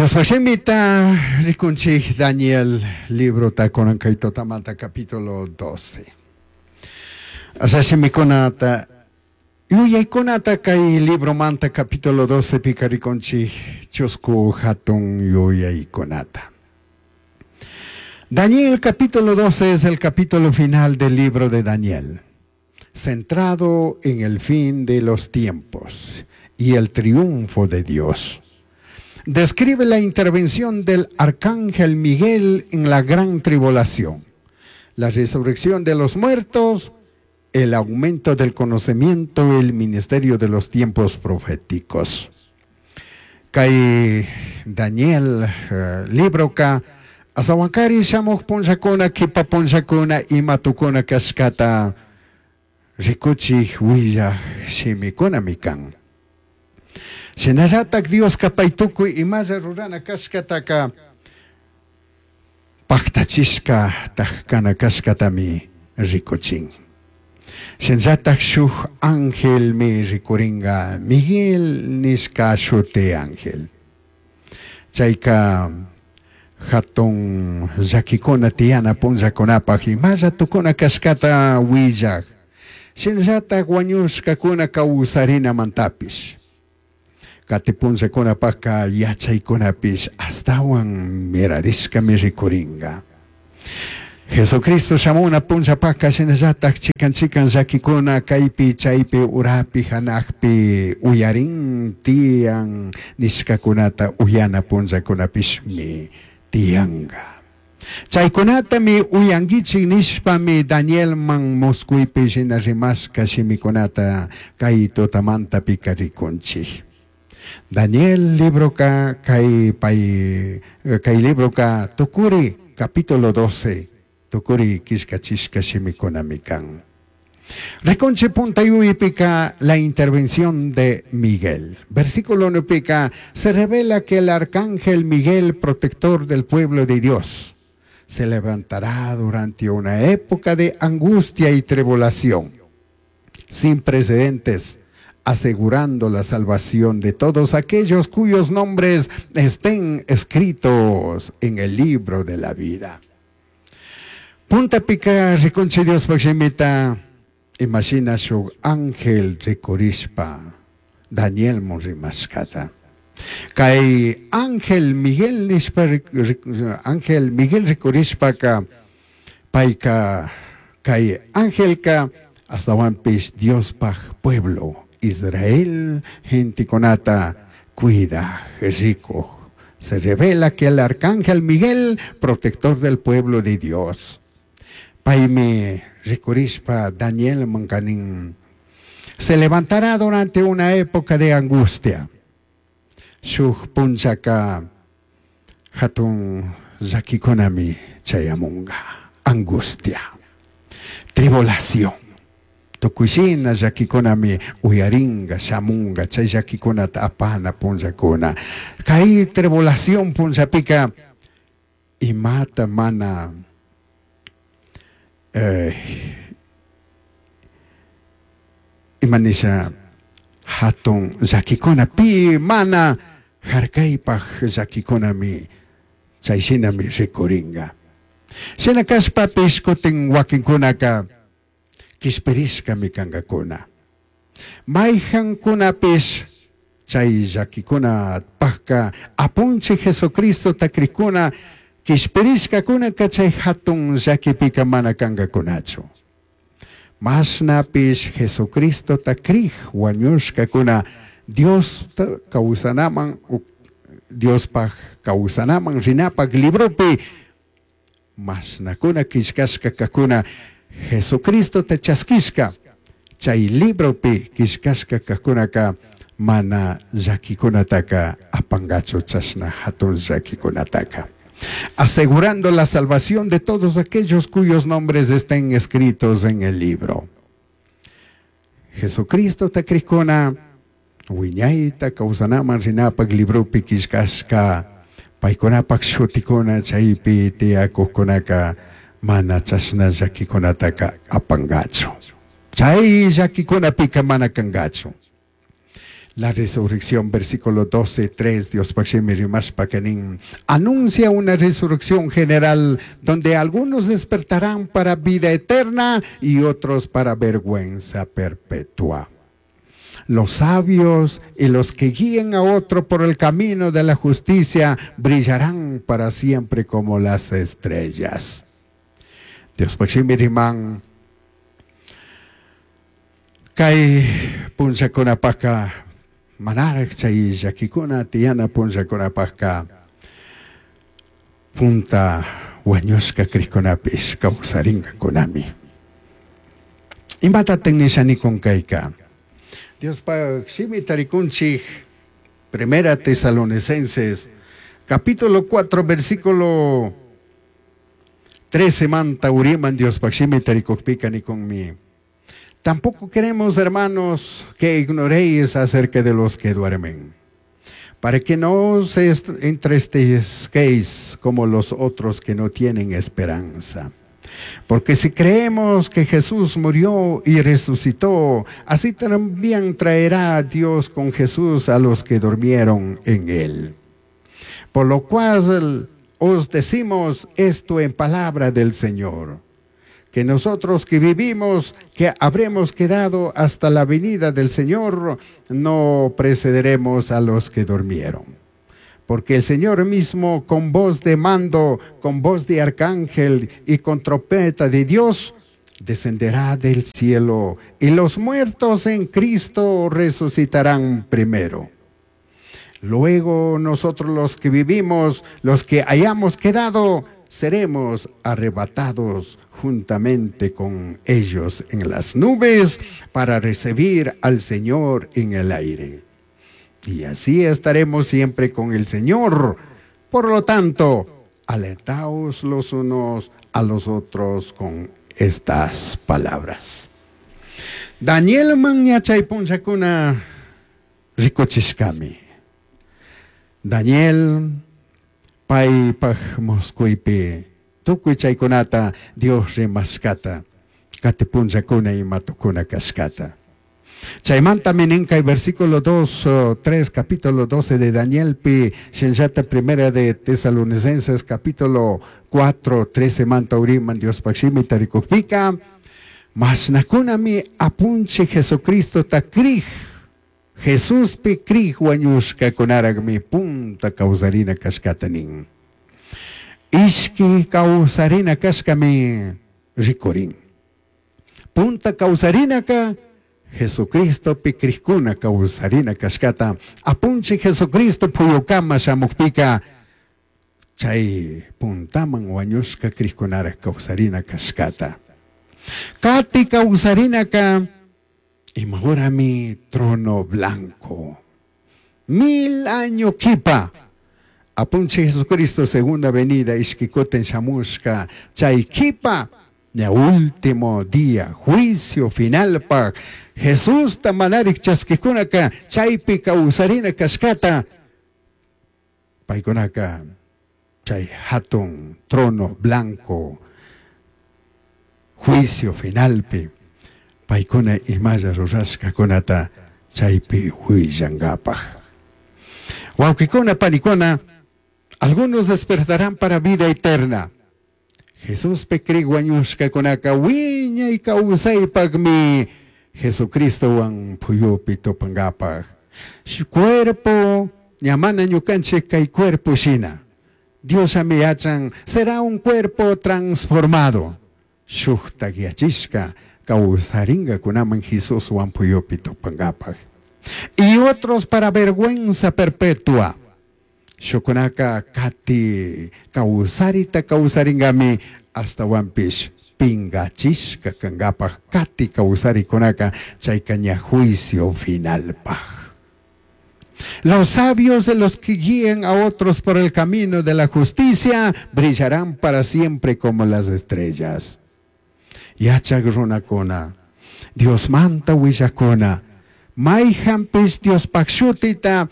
Diospaj shimita rikunchij Daniel librota kunan kay tutamanta capítulo 12. Asha shimikunata yuyaykunata kay libromanta capítulo 12 pika rikunchij chusku hatun yuyaykunata. Daniel capítulo 12 es el capítulo final del libro de Daniel, centrado en el fin de los tiempos y el triunfo de Dios. Describe la intervención del arcángel Miguel en la gran tribulación, la resurrección de los muertos, el aumento del conocimiento, el ministerio de los tiempos proféticos. Kay Daniel libroka astawankari shamuj punllakuna kipa punllakuna ima tukuna kashkata rikuchij willaj shimikunami kan. Shinallatak Dioska pay tukuy imalla rurana kashkataka paktachishka kana kashkatami rikuchin. Shinallatak shuk angelmi rikuringa Miguel nishka shuti ángel. Chayka hatun llakikuna tiyana punllakunapaj imalla tukuna kashkata willaj. Shinallatak wañushkakuna kawsarinamantapish. Kati punllakunapajka yachaykunapish astawan mirarishkami rikuringa. Jesucristo shamuna punllapajka shinallatak chikan chikan llakikuna kaypi chaypi urapi hanakpi uyarin tiyan nishkakunata uyana punllakunapishmi tiyanka. Chaykunatami uyankichik nishpami Danielman muskuypi shina rimashka shimikunata kay tutamantapika rikunchik. Daniel libroka kay pay kay libroka tukuri capítulo 12 tukuri killkachishka shimikunami kan. Rikunchik punta yuypika la intervención de Miguel. Versículo 1 se revela que el arcángel Miguel, protector del pueblo de Dios, se levantará durante una época de angustia y tribulación sin precedentes, asegurando la salvación de todos aquellos cuyos nombres estén escritos en el libro de la vida. Puntapika rikunchik Diospaj shimita imashina shuk ángel rikurishpa Danielmun rimashkata. Kay ángel Miguel nishpa ángel Miguel rikurishpaka payka kay angelka astawanpish Diospaj pueblo Israel gentekunata cuida rico. Se revela que el arcángel Miguel, protector del pueblo de Dios. Paymi rikurishpa Daniel mankanin se levantará durante una época de angustia. Shuk punllaka hatun llakikunami chayamunga. Angustia, tribulación. Tukuy shina llakikunami uyaringa, shamunga, chay llakikunata apana punllakuna. Kay tribulación punllapika imata mana imanisha hatun llakikuna pi mana harkaypaj llakikunami chay shinami rikuringa. Shina kashpapish kutin wakinkunaka kishpirishkami kankakuna. Mayjankunapish chay llakikunapajka apunchik Jesucristota krikuna kishpirishkakunaka chay hatun llakipika mana kankakunachu. Mashnapish Jesucristota krij wañushkakuna Dios kawsanaman Diospaj kawsanaman rinapaj libropi mashnakuna killkashka kakuna Jesucristota chaskishka chay libropi killkashka kakunaka mana llakikunataka apangachu chashna hatun llakikunataka. Asegurando la salvación de todos aquellos cuyos nombres estén escritos en el libro. Jesucristota krikuna wiñayta kawsanaman rinapaj libropi killkashka paykunapaj shutikuna chaypi tiyakukkunaka mana chashna llakikunataka apangachu. Chay llakikunapika mana kangachu. La resurrección, versículo 12, 3, Dios nin, anuncia una resurrección general donde algunos despertarán para vida eterna y otros para vergüenza perpetua. Los sabios y los que guíen a otro por el camino de la justicia brillarán para siempre como las estrellas. Dios riman kay punllakunapajka manaraj chay llakikuna tiyana punllakunapajka punta wañushka crijkunapish kawsarinkakunami. Imatataj nisha nikun kayka? Diospaj shimi tarikunchik Primera Tesalonicenses capítulo 4 versículo 13 manta uriman Diospaj shimi tarikukpika nikunmi. Tampoco queremos, hermanos, que ignoréis acerca de los que duermen, para que no os entristezcáis como los otros que no tienen esperanza. Porque si creemos que Jesús murió y resucitó, así también traerá Dios con Jesús a los que durmieron en él. Por lo cual os decimos esto en palabra del Señor, que nosotros que vivimos, que habremos quedado hasta la venida del Señor, no precederemos a los que durmieron. Porque el Señor mismo, con voz de mando, con voz de arcángel y con trompeta de Dios, descenderá del cielo, y los muertos en Cristo resucitarán primero. Luego nosotros los que vivimos, los que hayamos quedado, seremos arrebatados juntamente con ellos en las nubes para recibir al Señor en el aire. Y así estaremos siempre con el Señor. Por lo tanto, alentaos los unos a los otros con estas palabras. Daniel man yachay punllakuna rikuchishkami. Daniel paypaj musquypi tukuy chaykunata Dios rimashkata kati punllakuna ima tukuna kashkata. Chaymantami nin kay versículo 2, 3, capítulo 12 de Daniel pi, shinallata primera de Tesalonicenses, capítulo 4, 13 manta uriman Diospaj shimi tarikukpika, mashnakunami apunchij Jesucristo ta crij, Jesús pi crij wañushkakunarajmi punta kawsarina kashkata nin. Ishki kawsarina kashkami rikurin. Punta kawsarinaka Jesucristo pi crijkuna kawsarina kashkata. Apunchij Jesucristo puyukama shamukpika chay puntaman wañushka crijkunaraj kawsarina kashkata. Kati kawsarinaka imahorami trono blanco. 1000 año kipa. Apunchij Jesucristo segunda venida ishkikutin shamushka chay kipa. Ya último día, juicio final pa Jesús ta manarik chaskikunaka chaypi kawsarina kashkata paykunaka chay hatun trono blanco juicio finalpi paykuna imalla rurashkakunata chaypi huillankapaj. Wawqikuna panikuna, algunos despertarán para vida eterna. Jesús pi crij wañushkakunaka wiñay kawsaypaqmi Jesucristowan puyupi tupankapaj. Cuerpo, ña mana ñukanchik kay cuerpo shina. Dios ami yachan, será un cuerpo transformado. Shuktak yachishka kawsarinkakunaman Jesuswan puyupi tupankapaj. Y otros para vergüenza perpetua. Shukunaka kati kawsarita kawsarinkami astawanpish pingachishka kankapaj kati kawsarikunaka chayka ña juicio finalpaj. Los sabios de los que guíen a otros por el camino de la justicia brillarán para siempre como las estrellas. Yachak runakuna, Dios manta willakuna, mayhanpish Diospaj shutita,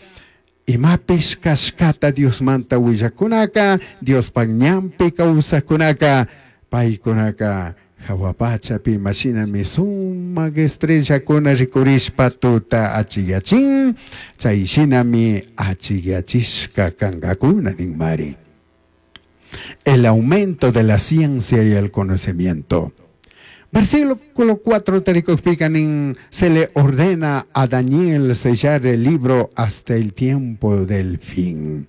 imapish kashkata Dios manta willakunaka, Diospaj ñanpi kawsajkunaka, paykunaka Jahua pachapi imashinami sumac estrellacuna ricurishpa tuta achicllachin, chai shinami achicllachishca cangacuna ninmari. El aumento de la ciencia y el conocimiento. Versículo 4 taricujpica nin, se le ordena a Daniel sellar el libro hasta el tiempo del fin.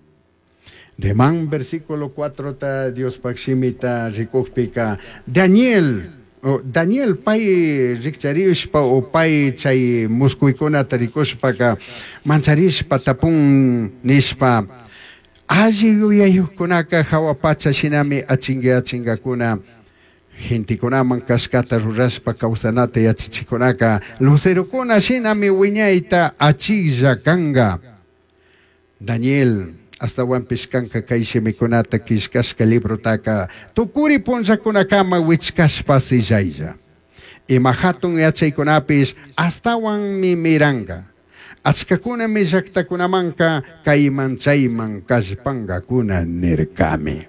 Reman versículo 4 ta Diospaj shimita ricujpica Daniel o Daniel pai riccharishpa o pai chay muscuicunata ricushpaca mancharishpa tapun nishpa alli yuyayujcunaca jahua pacha shinami achinga achingacuna gentecunaman cashcata rurashpa causanata yachachicunaca lucerocuna shinami huiñaita achilla canga. Daniel ashtahuanpish canca cai shimicunata quillcashca librotaka tucuri punllacunacama huichcashpa sillailla. Ima jatun yachaicunapish ashtahuanmi miranga. Achcacunami llactacunamanca caiman chaiman callpangacuna nircami.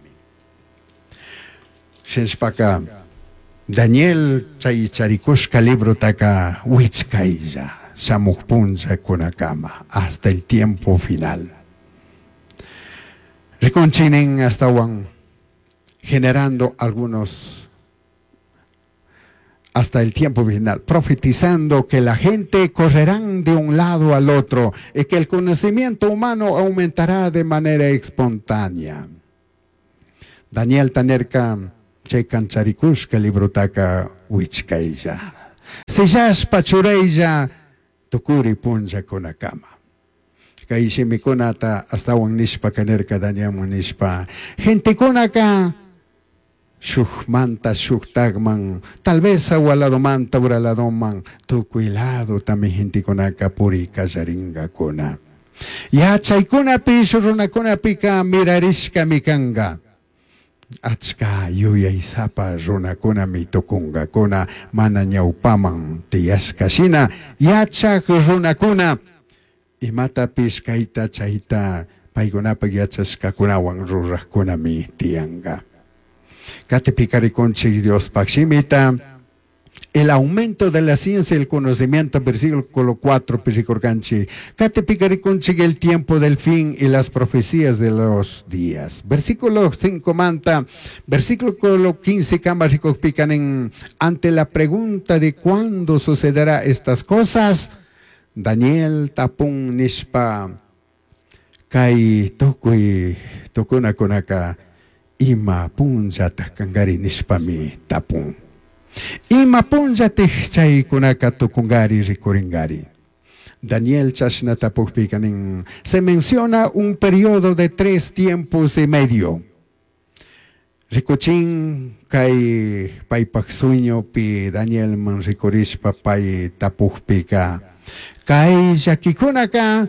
Shinashpaca Daniel chay charicushca librotaka huichcailla shamuj punllacunacama hasta el tiempo final. Ricunchinin ashtahuan generando algunos hasta el tiempo final, profetizando que la gente correrán de un lado al otro y que el conocimiento humano aumentará de manera espontánea. Daniel nirca chay can charicushca librotaka huichcailla. Sellashpa churailla tucuri punllacunacama. Kay shimikunata ashtahuan nishpa nirca Danielman nishpa gentecunaca shujmanta shujtagman tal vez jahua ladomanta ura ladoman tucui lado también gentecunaca puri callaringacuna. Yachaycunapish runacunapika mirarishkami canga. Achka yuyaysapa runakunami tucungacuna mana ñawpaman tiyashka shina yachak runakuna imatapish kayta chayta paykunapak yachashkakunawan rurajkunami tiyanga. Katipika rikunchik Diospaj shimita el aumento de la ciencia y el conocimiento, versículo 4, rikurkanchik. Katipika rikunchik el tiempo del fin y las profecías de los días. Versículo 5 manta, versículo 15 kama rikujpika ante la pregunta de cuándo sucederá estas cosas, Daniel tapun nishpa kay tukuy tukunakunaka ima punllataj kangari nishpami tapun. Ima punllataj chaykunaka tukungari rikuringari. Daniel chashna tapujpika nin, se menciona un periodo de 3 tiempos y medio. Rikuchin kay paypaj sueñopi Daniel man rikurishpa pay tapujpika kay llakikunaka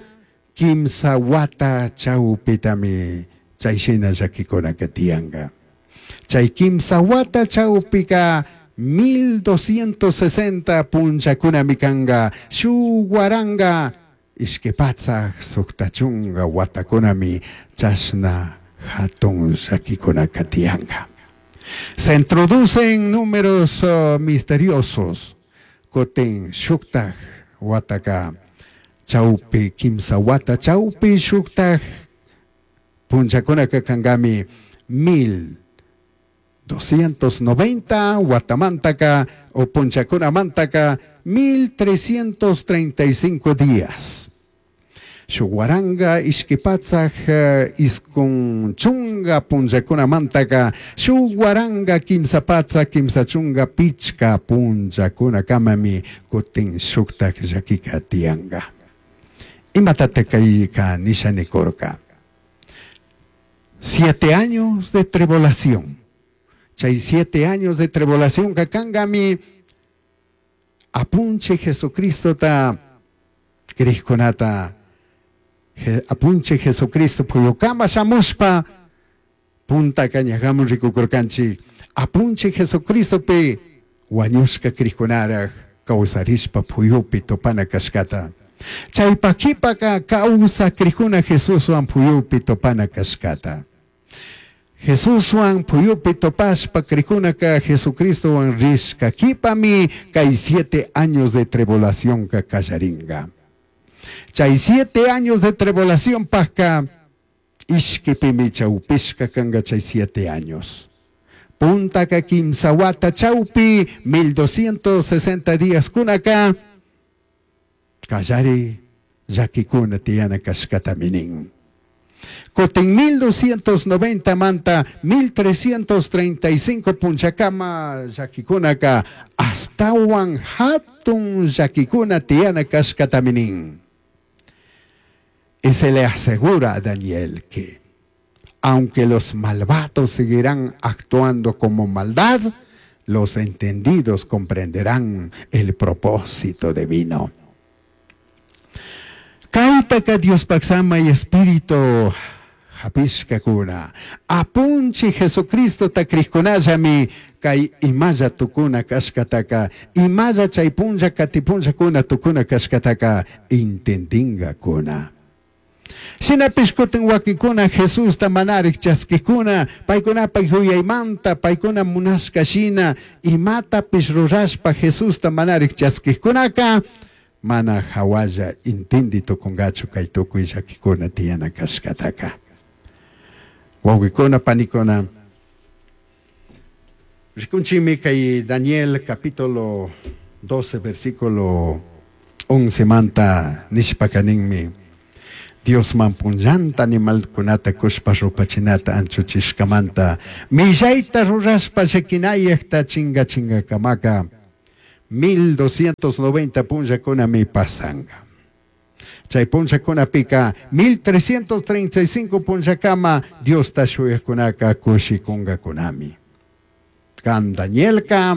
kimsa wata chawpitami chay shina llakikunaka tiyanga. Chay kimsa wata chawpika 1260 punllakunami kanga shuk waranga ishki patsak sukta chunga watakunami chashna hatun llakikunaka tiyanga. Se introducen números misteriosos. Kutin shuktaj wataka chawpi kimsa wata chawpi shuktaj punllakunaka kangami 1290 watamantaka o punllakunamantaka 1335 días. Shuk waranga ishki patsak iskun chunga punllakunamantaka shuk waranga kimsa patsak kimsa chunga pichka punllakunakamami kutin shuktak llakika tiyanga. Imatataq kayka nisha nikurka? 7 años de tribulación. Chay 7 años de tribulación kakangami apunche Jesucristo ta crijkunata apunche Jesucristo puyukama shamushpa punta kañajamun rikukurkanchik apunche Jesucristo pe wañushka crijkunaraj kawsarishpa puyupi topana kashkata. Chaypa kipaka kawsa crijkuna Jesuswan puyupi topana kashkata. Jesushuan puyupi topashpa cricunaca Jesucristohuan rishca quipami cai siete años de tribulacionca callaringa. Chai siete años de tribulacionpajca ishquipimi chaupishca canga chai siete años. Puntaca quimsa huata chaupi 1260 días cunaca callari llaquicuna tiyana cashcatami nin. Cutin 1290 manta 1335 punllacama llaquicunaca ashtahuan jatun llaquicuna tiyana cashcatami nin. Y se le asegura a Daniel que aunque los malvados seguirán actuando como maldad, los entendidos comprenderán el propósito divino. Caitaca Diospaj Samai Espíritu japishcacuna. Apunchij Jesucristota crijcunallami cai imalla tucuna cashcataca, imalla chai punlla cati punllacuna tucuna cashcataca intendingacuna. Shinapish cutin huaquincuna Jesusta manarij chasquijcuna, paicunapaj yuyaimanta, paicuna munashca shina imatapish rurashpa Jesusta manarij chasquijcunaca, mana jahualla intindi tucungachu cai tucui llaquicuna tiyana cashcataca. Huauquicuna, panicuna, ricunchimi cai Daniel capítulo 12 versículo 11 manta nishpaca ninmi, Diosman punllanta animalcunata cushpa rupachinata anchuchishcamanta millaita rurashpa llaquinayajta chingachingacamaca 1290 punllacunami pasanga. Chai punllacunapica 1335 punllacama Diosta shuyajcunaca cushicungacunami. Can Danielca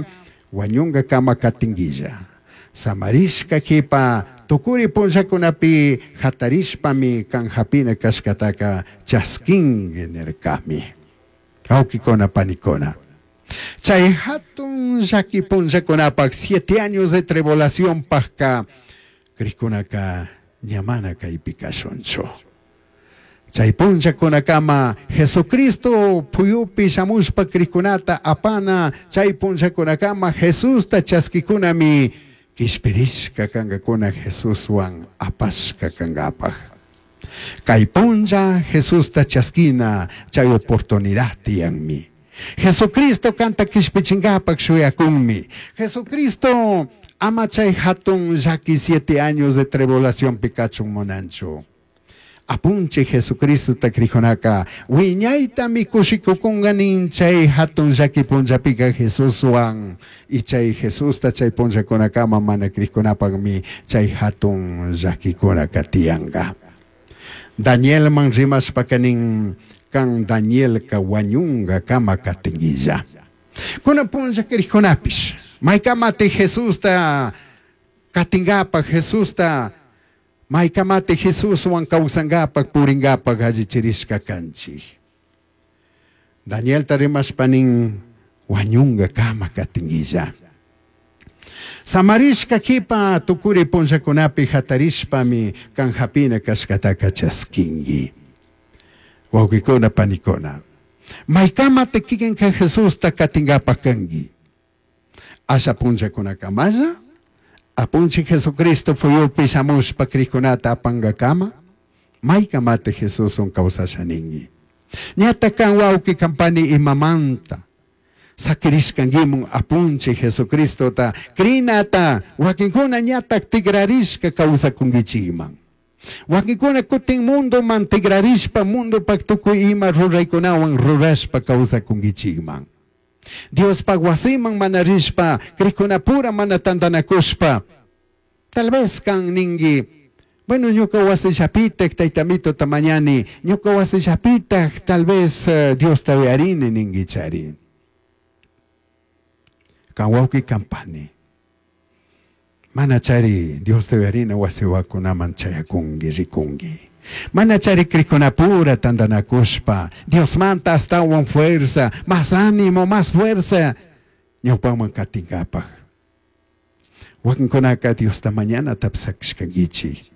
huañungacama catinguilla. Samarishca quipa tucuri punllacunapi jatarishpami can japina cashcataca chasquingui nircami. Huauquicuna panicuna. Chai jatun llaqui punllacunapac siete años de tribulacionpajca crijcunaca ña mana caipi cashunchu. Chai punllacunacama Jesucristo puyupi shamushpa crijcunata apana chai punllacunacama Jesusta chasquicunami quishpirishca cangacuna Jesushuan apashca cangapaj. Cai punlla Jesusta chasquina chai oportunidad tiyanmi. Jesucristo canta quishpichingapac shuyacunmi. Jesucristo ama chai jatun llaqui siete años de tribulacionpi cachun munanchu. Apunchij Jesucristota crijunaca huiñaitami cushicucunga nin chay jatun llaqui punllapica Jesushuan y chay Jesusta chay punllacunacama mana crijcunapajmi chay jatun llaquicunaca tiyanga. Danielman rimashpaca nin can Danielca huañunga cama catinguilla. Cunan punlla crijcunapish maicamati Jesusta catingapaj Jesusta maicamati Jesushuan causangapaj puringapaj allichirishca canchij. Danielta rimashpa nin huañunga cama catinguilla. Samarishca quipa tucuri punllacunapi jatarishpami can japina cashcataca chasquingui. Huauquicuna panicuna, maicamati kikinca Jesusta catingapaj cangui. Asha punllacunacamalla, apunchij Jesucristo fuyupi shamushpa crijcunata apangacama, maicamati Jesuswan causasha ningui. Ñata can huauqui can pani imamanta, saquirishcanguimun apunchij Jesucristota crinata, huaquincuna ñatak tigrarishca causacunguichikman. Huaquincuna cutin mundoman tigrarishpa mundopak tukuy ima ruraykunawan rurashpa causacunguichikman. Diospaj wasiman mana rishpa, crijcunapura mana tandanakushpa. Tal vez can ningui, bueno, ñuka wasillapitaj taytamitota mañani, ñuka wasillapitaj tal vez Diosta uyarini ninguichari. Can wauki can pani. Mana chari Diosta uyarina wasiwakunaman chayakungui, rikungui. Mana chari crijcunapura tandanakushpa, Diosmanta ashtawan fuerza, más ánimo, más fuerza, ñawpaman katingapaj. Wakinkunaka Diosta mañanatapish sakishkanguichik.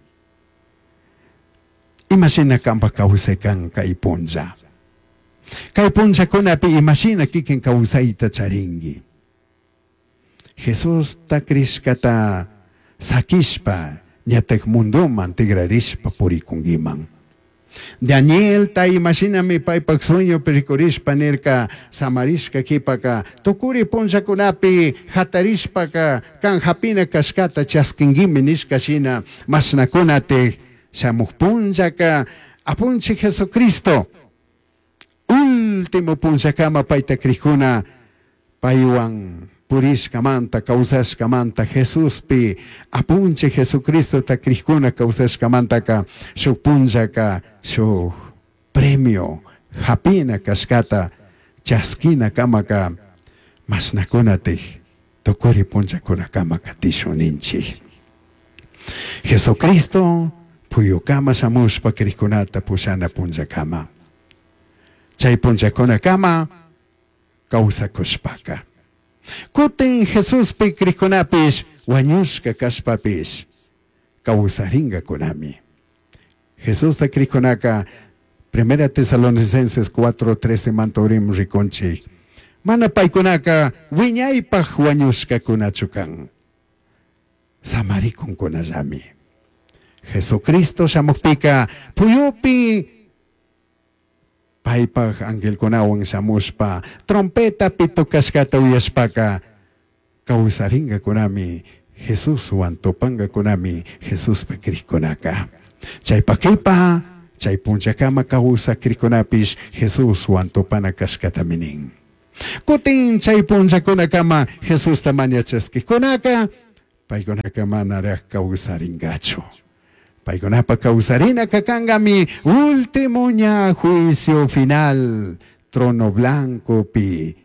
Imashina kanpak kawsay kan kay punlla. Kay punllakunapi imashina kikin kawsayta charinki. Jesusta crishkata sakishpa ñatak munduman tigrarishpa purikunkiman. Danielta imashinami paypak sueñopi rikurishpa nirka samarishka kipaka tukuri punllakunapi hatarishpaka kan hapina kashkata chaskinguimi nishka shina mashnakunatik shamuj punllaka apunchik Jesucristo último punllakama payta krikuna paywan purishkamanta kawsashkamanta Jesuspi apunchik Jesucristota krikuna kawsashkamantaka shuk punllaka shuk premio hapina kashkata chaskina kamaka mashnakunatik tukuri punllakunakama katishun ninchik. Jesucristo puyukama shamushpa krikunata pushana punllakama. Chay punllakunakama kawsakushpaka. Kutin Jesuspi krikunapish wañushka kashpapish kawsaringakunami. Jesusta krikunaka Primera Tesalonicenses 4:13 mantorim rikunchik. Mana paykunaka wiñaypaj wañushkakunachu kan. Samarikunkunallami. Jesucristo shamukpika puyupi paypaj angelkunawan shamushpa trompetapi tocashkata uyashpaka kawsaringakunami Jesuswan tupangakunami Jesuspi krikkunaka. Chaypakipa chay punllakama kawsak krikunapish Jesuswan tupana kashkatami nin. Kutin chay punllakunakama Jesusta maña chaskikkunaka paykunaka manaraj kawsaringachu. Paykunapa kawsarinaka kankami último ña juicio final trono blancopi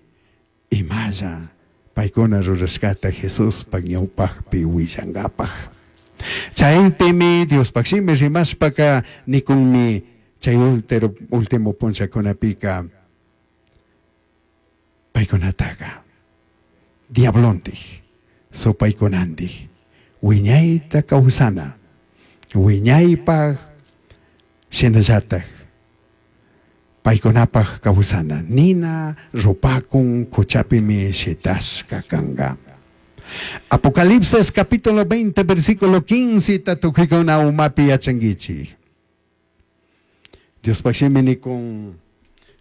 imalla paykuna rurashkata Jesuspa ñawpajpi willankapaj. Chaypimi Diospaj shimi rimashpaka nikunmi chay último punllakunapika paykunataka diablontik supaykunantik wiñayta kawsana wiñaypaj shinallataj paykunapaj kawsana nina rupakun kuchapimi shitashka kanka. Apocalipsis capítulo 20 versículo 15 tatukuykuna umapi yachankichik. Diospaj shimi nikun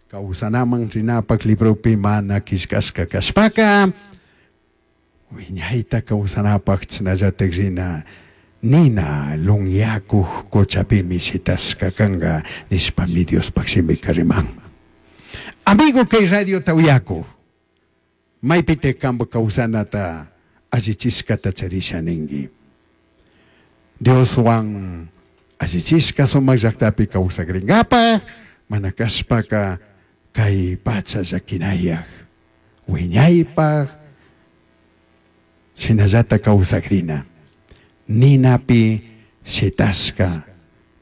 kawsanaman rinapak libropi mana killkashka kashpaka wiñayta kawsanapak chinallatak rina nina lunyakuj kuchapimi shitashka kanka nishpami Diospaj shimika riman. Amigo kay radiota uyakuj maypitik kanpak kawsanata allichishkata charisha ninki. Dioswan allichishka sumak llaktapi kawsakrinkapaj mana kashpaka kay pacha llakinayak wiñaypaj shinallata kawsakrina ninapi shitashka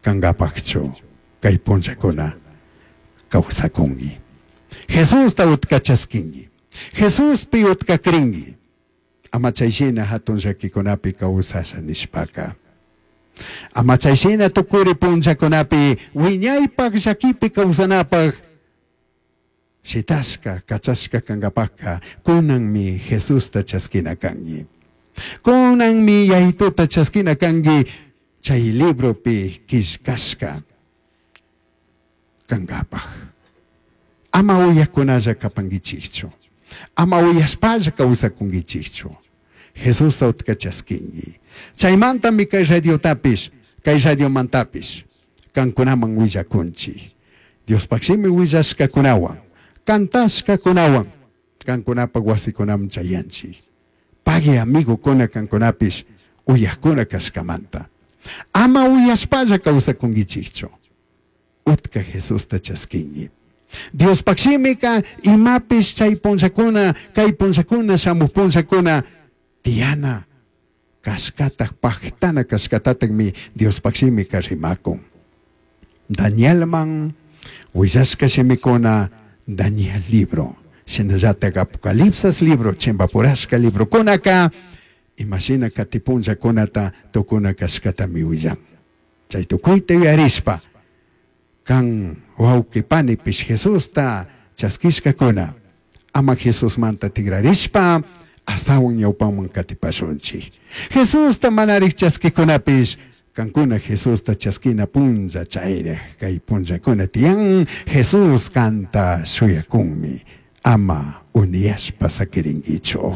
kankapakchu kay punllakuna kawsakunki. Jesusta utka chaskinki. Jesuspi utka krinki. Ama chayshina hatun llakikunapi kawsasha nishpaka. Ama chayshina tukuri punllakunapi wiñaypaj llakipi kawsanapaj shitashka kachashka kankapajka kunanmi Jesusta chaskina kanki. Kunanmi Yayituta chaskina kanki chay libropi killkashka kankapaj. Ama uyakunalla kapankichikchu. Ama uyashpalla kawsakunkichikchu. Jesusta utka chaskinki. Chaymantami kay radiotapish, kay radiomantapish kankunaman willakunchik. Diospaj shimi willashkakunawan, kantashkakunawan kankunapak wasikunaman chayanchik. Pagui amigokuna kankunapish uyakuna kashkamanta. Ama uyashpalla kawsakunkichikchu. Utka Jesusta chaskinki. Diospaj shimika imapish chay punllakuna, kay punllakuna, shamuj punllakuna tiyana kashkataj pajtana kashkatatakmi Diospaj shimika rimakun. Danielman willashka shimikuna Daniel libro, shinallatak Apocalipsis libro, chimpapurashka librokunaka imashina kati punllakunata tukuna kashkatami willan. Chay tukuyta yuyarishpa kan Huauqui panipish Jesusta chaskishkakuna ama Jesusmanta tigrarishpa ashtahuan ñawpaman katipashunchik. Jesusta manarik chaskikunapish kankuna Jesusta chaskina punlla chayrik kay punllakuna tiyan Jesús kanta shuyakunmi ama uniyashpa sakirinkichu.